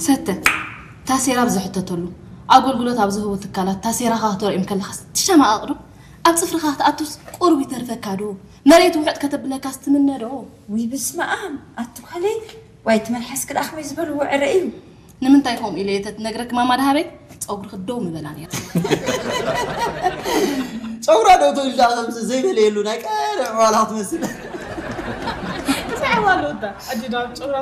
ሰተ፣ ታሴራ ኣብ ዝሕተተሉ፣ ኣገልግሎት ኣብ ዝህቡ ትካላት ታሴራኻ ክተርእዮም ከለኻስ ትሸማቐቕ ዶ? ኣብ ጽፍርኻ ክትኣቱስ ቁሩብ ይተርፈካ ዶ? መሬት ውሕጥ ከተብለካስ ትምነ ዶ? ውይ፣ በስመ ኣብ፣ ኣቲ ጓለይ፣ ዋይ፣ እቲ መልሓስኪ ደኣ ከመይ ዝበለ ውዕረ እዩ። ንምንታይ ከምኡ ኢለ እየ ተትነግረኪ ማማ ደሃበይ? ጸጉርኺ ደው ምበላ ነይሩ። ጨጉራ ዶ ትብል ደኣ ከምዚ ዘይበለየሉ ናይ ቀደም ዕዋላ ክትመስል። እንታይ ዕዋላ ወዳ? ኣዲ ናብ ጨጉራ